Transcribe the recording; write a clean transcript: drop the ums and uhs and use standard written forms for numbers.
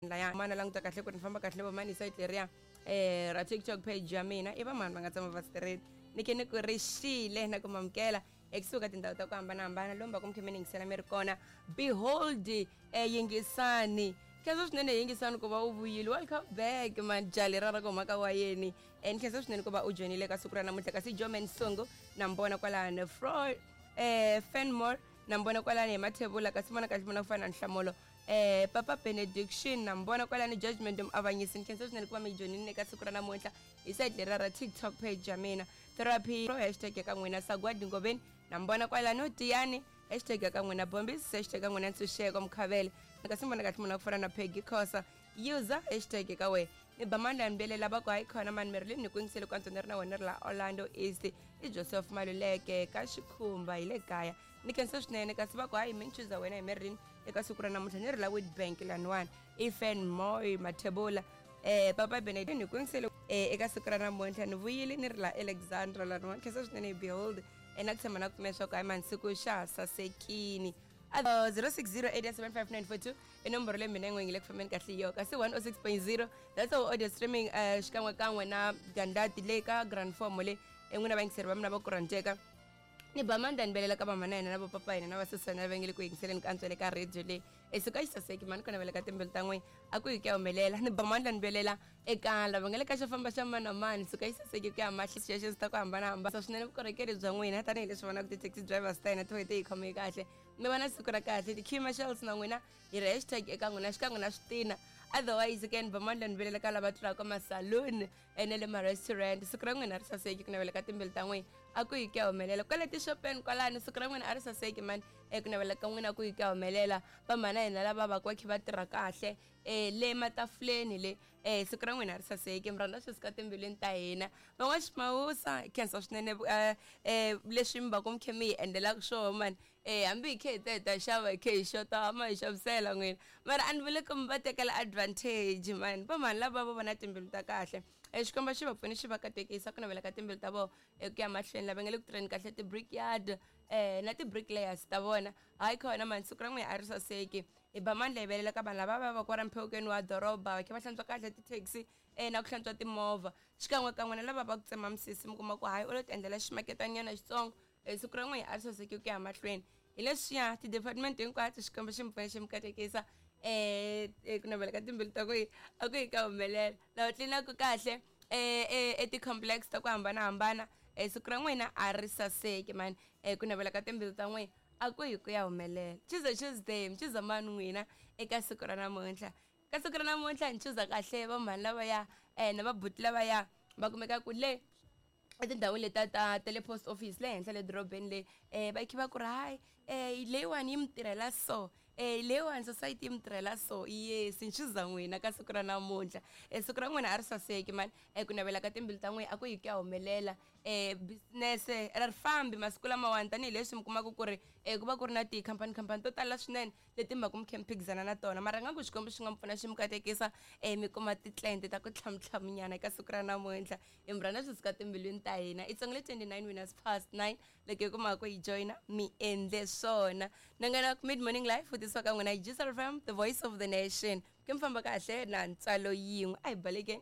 Laya mana languta kahle ku ri ni famba kahle vamani site leriya ra TikTok page ya mina i vamani va nga tshama va straight ni ke ni ku rixile na ku mamukela ekusuhi ka tindhawu ta ku hambanahambana lomu va ku mi khe mi yingisela mi ri kona. Behold, yingisani khensa swinene, yingisani ku va u vuyile. Welcome back man, jali ra ra ku huma ka wayeni. Ni khensa swinene ku va u joyinile ka siku ra namuntlha. Kasi Joman Sungu na mbona kwalano, Fro Fenmore na mbona kwalano hi Mathebula. Kasi vona kahle vona ku fana na Nhlamulo, Papa Benediction na mbona kwalani, Judgment Muavanyisi. Ni khensa swinene ku va mi joyinile eka siku ra namuntlha hi side leriya ra TikTok page ya mina. Therapy hashtag ya ka n'wina, Sagwadi Ngoveni na mbona kwalano, Tiyani hashtag ya ka n'wina, Bombis hashtag ya n'wina, Ntshunxeko Mukhavele. Kasi mbona kahle munhu wa ku fana na Peggy Khosa, user hashtag ka wena. Ni ba mandla ni belela va ku hayi khona mani Merlin, ni ku yingisele ku antswa ni ri na wena, ni ri la Orlando East. I Joseph Maluleke ka Xikhumba hi le kaya, ni khensa swinene. Kasi va ku hayi mi ni chuza wena hi Merlin eka siku ra namuntlha, ni ri la Witbank laniwani. I Fan Moy Mathebula, Papa Benedict, ni ku yingisele eka siku ra namuntlha, ni vuyile ni ri la Alexandra laniwani. Khensa swinene. Behold, na ku tshemba na ku pfumela leswaku hayi mani siku xa ha sasekini. 06087594 i nomboro leyi mina yin'we yi nge le ku fambeni kahle yo. Kasi 106.0, that's our audio streaming, xikan'we kan'we na gandati le ka grand form le n'wina vayingiseri va mina va ku rhandzeka. Ni ba mandla ni belela ka vamana hina na vopapa hina na vasesana va nge le ku yingiseleni ka antswa le ka radio leyi. Esuka xi saseki mani ku navela ka timbilu ta n'wina a ku yi ku ya humelela. Ni ba mandla ni belela eka lava nga le ka xo famba xa mani na mani, suka yi saseki ku ya mahli xexo ta ku hambanahambana swinene vukorhokeri bya n'wina, tanihileswi vonaka ti-taxi drivers ta hina ti ti hi khome kahle. Mi va na siku ra kahle. Ti-q marshals na n'wina hi ri hashtag eka n'wina xikan'we na switina. Otherwise ke ni ba mandla ni belela ka lava tlulaka masaluni ene le ma-restaurant, siku ra n'wina ri saseki, ku navela ka timbilu ta n'wina a ku yi ku ya humelela. Kwale tixopeni kwalano, siku ra n'wina a ri saseki mani, eku navela ka n'wina ku yi ku ya humelela. Vamhana hina lava va ku va khe va tirha kahle le matafuleni le, siku ra n'wina ri saseki, mi rhandza swi suka timbilwini ta hina. Van'waximawusa, khensa swinene leswi mi va ku mi khe mi hi endlelaka swona mani. Hambi hi khe hi ta hi ta xava, hi khe hi xota, ma hi xavisela n'wina, mara a ni vuli ku mi va tekela advantage mani. Va mhani lava va vona timbilu ta kahle, Xikwembu xi va pfuni, xi va katekisa, ku navela ka timbilu ta vona eku ya mahlweni. Lava nga le ku tirheni kahle ti-brickyard na ti-bricklayers ta vona, hayi khona mani, siku ra n'wina a ri saseki. Hi ba mandla hi velela ka vanhu lava va va kwala mphewukeni wa doroba va khe va hlantswa kahle ti-taxi na ku hlantswa timovha, xikan'we kan'we na lava va ku tsema misisi, mi kuma ku hayi u lo ti endlela ximaketanyana xitsongo. Siku ra n'wina a ri saseki ku ya mahlweni. Hi leswiya ti-department hinkwato, Xikwembu xi mi pfuna, xi mi katekisa, ku navela ka timbilu ta ku yi a ku yi ka humelela. Lava tlilinaka kahle eti-complex ta ku hambanahambana, siku ra n'wina a ri saseki mani, ku navela ka timbilu ta n'wina a ku yi ku ya humelela. Tuesday, Tuesday, mi chuza mani n'wina eka siku ra namuntlha? Ka siku ra namuntlha ni chuza kahle vamhani lavaya na vabuti lavaya va kumekaka le etindhawini letiya ta le post office le henhla le dorobeni le, va khe va ku ri hayi, leyiwani yi mi tirhela so, leyiwani society yi mi tirhela so. Yes, ni chuza n'wina ka siku ra namuntlha. Siku ra n'wina a ri saseki mani, ku navela ka timbilu ta n'wina a ku yi ku ya humelela. Business ra ri fambi masiku lamawani, tanihileswi mi kumaka ku ri ku va ku ri na tikhampani khampani to tala swinene leti mi va ku mi khe mi phikizana na tona, mara nga ku Xikwembu xi nga mi pfuna, xi mi katekisa, mi kuma ti-client ta ku tlhamutlhamunyana eka siku ra namuntlha. Hi mi rhandza swi suka timbilwini ta hina. I tsongile 29 minutes past 9. Loko hi kumaka ku hi joyina, mi endle swona. Nongonoko Mid Morning Life wu tisiwa ka n'wina hi Juice FM, the voice of the nation. Ke mi famba kahle na ntswalo yin'we, a hi balekeni.